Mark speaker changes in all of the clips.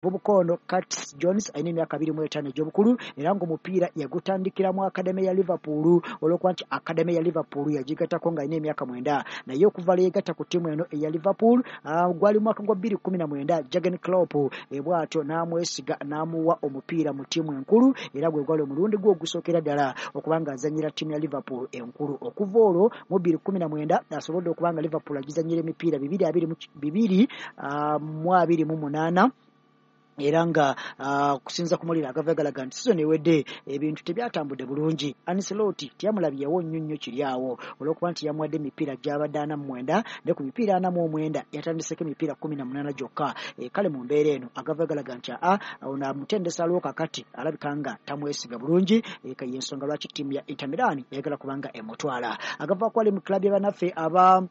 Speaker 1: Bubukono Curtis Jones alina emyaka 25 egy'obukulu era ng'omupiira yagutandikira mu akademi ya Liverpool, olw'okuba nti akademi ya Liverpool yagigattako ng'alina emyaka 9. Naye okuva lwe yeegatta ku ttiimu eno eya Liverpool, gwali mwaka gwa 2019, Jurgen Klopp bw'atyo n'amwesiga n'amuwa omupiira mu ttiimu enkulu, era gwe gwali omulundi gwe ogusookera ddala okuba ng'azannyira ttiimu ya Liverpool enkulu. Okuva olwo mu 2019 asobodde okuba nga Liverpool agizannyira emipiira 228, era nga okusinza ku mawulire agava galaga nti sizoni ewedde ebintu tebyatambudde bulungi. Ancelotti teyamulabyewo nnyo nnyo kiri awo, olw'okuba nti yamuwadde emipiira gy'abadde 49, ne ku mipiira 49 yatandiseko emipiira 18 gyokka. Kale mu mbeera eno agava galaga nti ono amutendesa aliwo kakati alabika nga tamwesiga bulungi, y'ensonga lwaki ttiimu ya Inter Milan eyagala kubanga emutwala. Agava kwali mu club ya bannaffe aba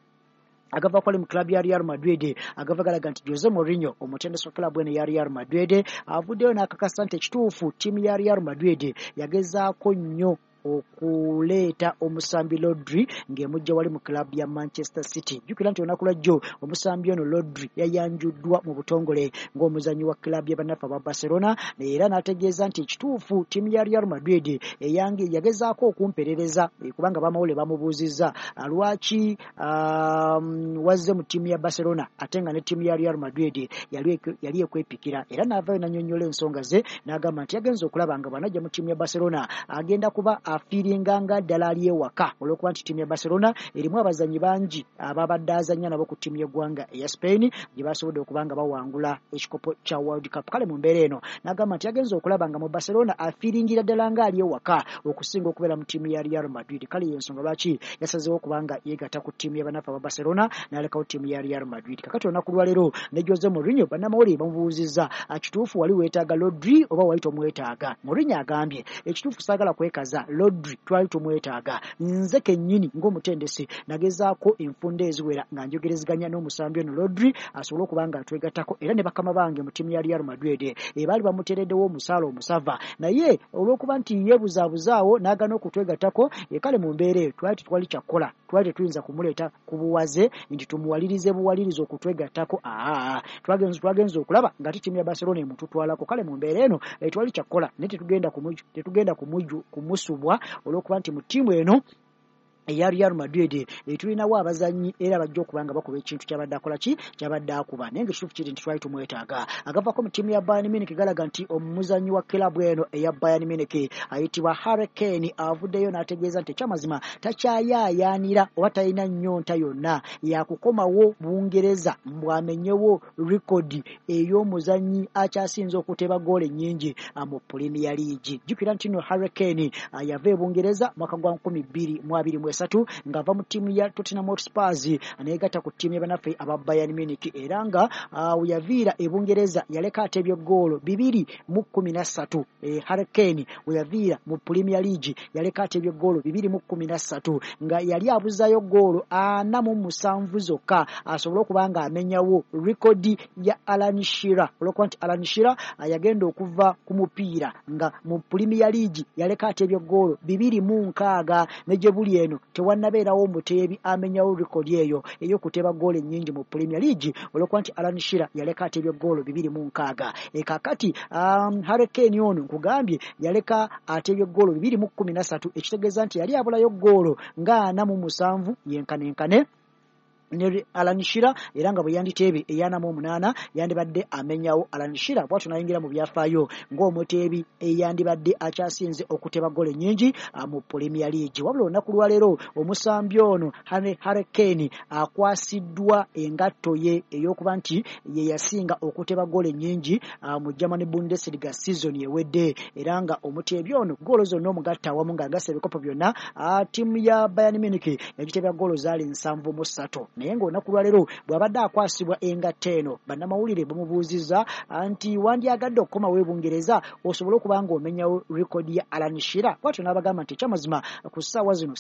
Speaker 1: agava kwali mu club ya Real Madrid, agava galaga nti Jose Mourinho omutendesi wa club eno ya Real Madrid avuddeyo n'akakasa nti ekituufu ttiimu ya Real Madrid yagezaako nnyo okuleeta omusambi Rodri ng'emujja wali mu club ya Manchester City. Jjukira nti olunaku lwajjo omusambi ono Rodri yayanjuddwa mu butongole ng'omuzannyi wa club ya bannaffe aba Barcelona, era n'ategeeza nti ekituufu ttiimu ya Real Madrid eyange yagezaako okumperereza, kubanga bamawulire bamubuuzizza lwaki wazze mu ttiimu ya Barcelona ate nga ne ttiimu ya Real Madrid yali ekwepikira, era n'avaayo n'annyonnyola ensonga ze n'agamba nti yagenze okulaba nga bw'anajja mu ttiimu ya Barcelona agenda kuba afiiringa nga ddala ali ewaka, olw'okuba nti ttiimu ya Barcelona erimu abazannyi bangi ababadde azannya nabo ku ttiimu y'eggwanga eya Spain gye basobodde okuba nga bawangula ekikopo kya World Cup. Kale mu mbeera eno n'agamba nti yagenze okulaba nga mu Barcelona afiiringira ddala nga ali ewaka okusinga okubeera mu ttiimu ya Real Madrid. Kale y'ensonga lwaki yasazeewo okuba nga yeegatta ku ttiimu y'abannaffe aba Barcelona n'alekawo ttiimu ya Real Madrid. Kakati olunaku lwaleero ne Jose Mourinho bannamawulire bamubuuzizza, kituufu wali weetaaga Rodri oba wali tomwetaaga? Mourinho agambye ekituufu saagala kwekaza, Rodri twali tumwetaaga, nze kennyini ng'omutendesi nagezaako enfunda eziwera nga njogerezeganya n'omusambi ono Rodri asobole okuba nga atwegattako, era ne bakama bange mu ttiimu ya Real Madrid baali bamuteereddewo omusaala omusava, naye olw'okuba nti yeebuzaabuzaawo n'agaana okutwegattako, kale mu mbeera eyo twali tetwali kyakukola, twali tetuyinza kumuleeta ku buwaze nti tumuwalirize buwalirize okutwegattako. Twagenze okulaba nga ttiimu ya Barcelona emututwalako. Kale mu mbeera eno twali kyakukola, naye tetugenda kumusubwa olw'okuba nti mu ttiimu eno eya Real Madrid tulinawo abazannyi era bajja okuba nga bakuba ekintu kyabadde akola ki kyabadde akuba, naye ng'ekituufu kiri nti twali tumwetaaga. Agavako mu ttiimu ya Bayern Munich galaga nti omuzannyi wa club eno eya Bayern Munich ayitibwa Harry Kane avuddeyo n'ategeeza nti ekyamazima takyayaayaanira oba talina nnyonta yonna yakukomawo Bungereza mbw'amenyewo rekodi ey'omuzannyi akyasinze okuteeba ggoolo ennyingi mu Premier League. Jjukira nti nno Harry Kane yava e Bungereza mwaka gwa 2023 ng'ava mu ttiimu ya Tottenham Hotspur neegatta ku ttiimu y'abannaffe aba Bayern Munich, era nga we yaviira e Bungereza yaleka atebye ggoolo 213. Harry Kane we yaviira mu Premier League yaleka atebye ggoolo 213, nga yali abuzaayo ggoolo 47 zokka asobole okuba nga amenyawo rekodi ya Alan Shearer, olw'okuba nti Alan Shearer yagenda okuva ku mupiira nga mu Premier League yaleka atebye ggoolo 260, ne gye buli eno tewannabeerawo omuteebi amenyawo rekodi eyo ey'okuteeba ggoolo ennyingi mu Premier League, olw'okuba nti Alan Shearer yaleka atebye ggoolo 260. Kaakati Harry Kane ono nkugambye yaleka atebye ggoolo 213, ekitegeeza nti yali abulayo ggoolo nga 47 yenkanenkane ne Alan Shearer, era nga bwe yanditeebye 48 yandibadde amenyawo Alan Shearer, bw'atyo n'ayingira mu byafaayo ng'omuteebi eyandibadde akyasinze okuteeba ggoolo ennyingi mu Premier League. Wabula olunaku lwaleero omusambi ono Harry Kane akwasiddwa engatto ye ey'okuba nti ye yasinga okuteeba ggoolo ennyingi mu German Bundesliga season ewedde, era nga omuteebi ono ggoolo zonna omugatta awamu ng'agasse ebikopo byonna, ttiimu ya Bayern Munich yagiteebya ggoolo zaali 73. Naye ng'olunaku lwaleero bw'abadde akwasibwa engatto eno bannamawulire bamubuuzizza nti wandyagadde okukomawo e Bungereza osobole okuba ng'omenyawo rekodi ya Alan Shearer, bw'atyo n'abagamba nti ekyamazima ku ssaawa zino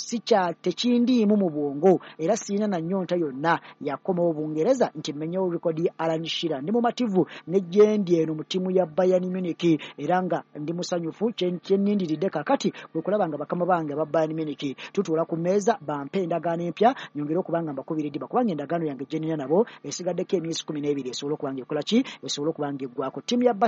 Speaker 1: tekindiimu mu bwongo era sirina na nnyonta yonna yakomawo Bungereza nti mmenyewo rekodi ya Alan Shearer, ndi mumativu ne gyendi eno mu ttiimu ya Bayern Munich era nga ndi musanyufu, kye nnindiridde kaakati kwe kulaba nga bakama bange aba Bayern Munich tutuula ku mmeeza bampe endagaano empya nyongere okuba nga mbakubiridde. December, kubanga endagaano yange gye nina nabo esigaddeko emyezi 12 esobole okuba nga ekola ki, esobole okuba nga eggwako. Ttiimu ya